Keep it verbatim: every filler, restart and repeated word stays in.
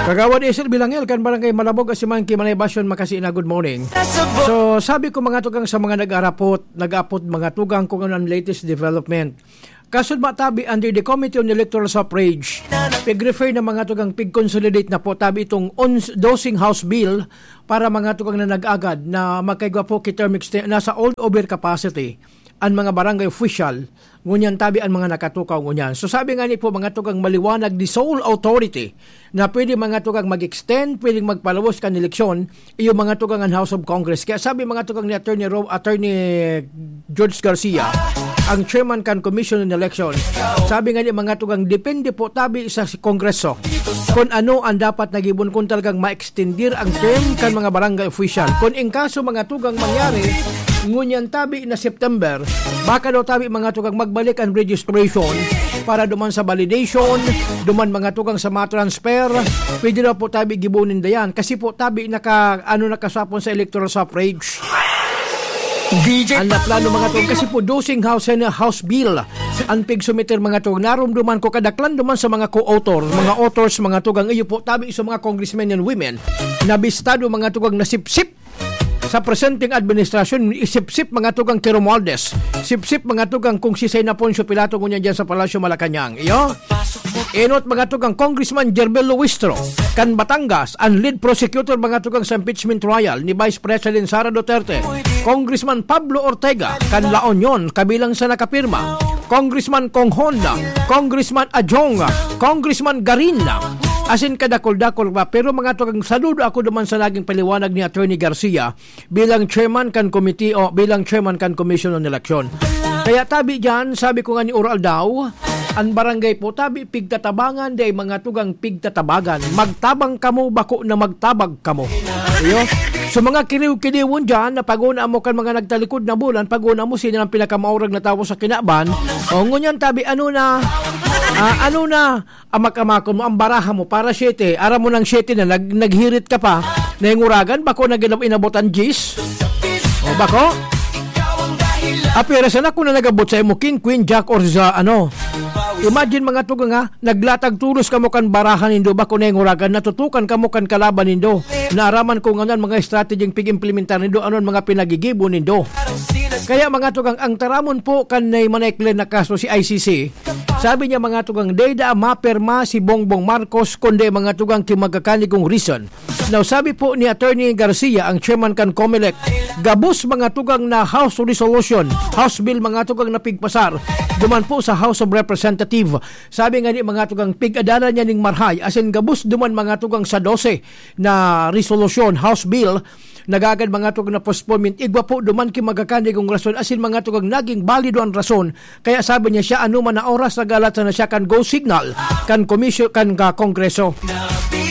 Kagawad Esel Bilangel kan Barangay Malabog, Asiman, Kimanay, Basyon, Makasina, good morning. So, sabi ko, mga tugang, sa mga nag-arapot, nag-apod, mga tugang, kung ano ang latest development. Kaso ba tabi under the Committee on Electoral Suffrage, pig-refer na, mga tugang, pig-consolidate na po tabi itong ons-, dosing House Bill para, mga tugang, na nag-agad na magkaigwa po ki term exten-, nasa all over capacity an mga barangay official, ngunyan tabi an mga nakatukaw ngunyan. So, sabi nga ni po, mga tugang, maliwanag the sole authority na pwede, mga tugang, mag-extend, pwedeng magpalawos kan eleksyon, iyo, mga tugang, an House of Congress. Kaya sabi, mga tugang, ni Attorney Ro-, Attorney George Garcia, ang chairman kan Commission on Election, sabi nga ni, mga tugang, depende po tabi sa si Kongreso kung ano ang dapat na gibon, kung talagang ma-extendir ang term kan mga barangay official. Kung in kaso, mga tugang, mangyari, ngunyan tabi na September, baka daw tabi, mga tugang, magbalik ang registration para duman sa validation, duman, mga tugang, sa mga transfer, pwede daw po tabi gibonin dayan. Kasi po tabi naka, ano, nakasapon sa electoral suffrage. Ang naplano, mga tugang, kasi po dosing House and House Bill ang pigsumiter, mga tugang. Narumduman ko kadaklan duman sa mga co-author, mga authors, mga tugang, iyo po tabi sa mga congressmen and women na bistado, mga tugang, na sipsip sa presenteng administrasyon, isipsip, mga tugang, ki Romualdez, sipsip, mga tugang, kung si Sena Poncio Pilato ngunyan dyan sa Palasyo Malacañang. Iyo? Enot, mga tugang, Congressman Jerbel Luistro kan Batangas, an lead prosecutor, mga tugang, sa impeachment trial ni Vice President Sara Duterte. Congressman Pablo Ortega kan La Union, kabilang sa nakapirma. Congressman Conghon, Congressman Ajong, Congressman Garin, asin kadakol-dakol pa. Pero, mga tugang, saludo ako duman sa naging paliwanag ni Attorney Garcia bilang chairman kan committee o bilang chairman kan Commission on Election. Kaya tabi diyan, sabi ko nga ni Oral daw, ang barangay po tabi pigtatabangan, dai, mga tugang, pigtatabagan. Magtabang kamo, bako na magtabag kamo. Iyo. So, mga kiniw-kiniwon diyan, na pag-una mo kan mga nagtalikod na bulan, pag-una mo sino ang pinakamaurag na tawo sa kinaban. O, ngunyan tabi, ano na, ah, ano na, amak-amakon mo, ang baraha mo, para siyete, aram mo nang siyete na, nag-, naghirit ka pa, nahinguragan, bako na ginaw-, inabot ang diyes. O, bako? Apira sana kung na nagabot sa imo, king, queen, jack, or sa, ano. Imagine, mga tugang, ha, naglatag tulos kamo kan baraha nindo, bako nahinguragan, natutukan kamo kan kalaban nindo. Naaraman ko nganan mga strategy pig-implementar nindo, ano ang mga pinagigibo nindo. Kaya, mga tugang, ang taramon po kan nay manayklen na kaso si I C C, sabi niya, mga tugang, dai daa maperma si Bongbong Marcos, kundi, mga tugang, ki magkakanigong reason. Now, sabi po ni Attorney Garcia, ang chairman kan Comelec, gabos, mga tugang, na House Resolution, House Bill, mga tugang, na pigpasar duman po sa House of Representative. Sabi nga ni, mga tugang, pig-adalan niya ning marhay, asin gabos duman, mga tugang, sa dose na resolution, House Bill, nagagad, mga tugang, na postponement. Igwa po duman ki magkakanigong rason, asin, mga tugang, naging balido an rason. Kaya sabi niya, siya, ano man na oras, nagalat sana siya kan go signal kan komisyon, kan, ah, Kongreso.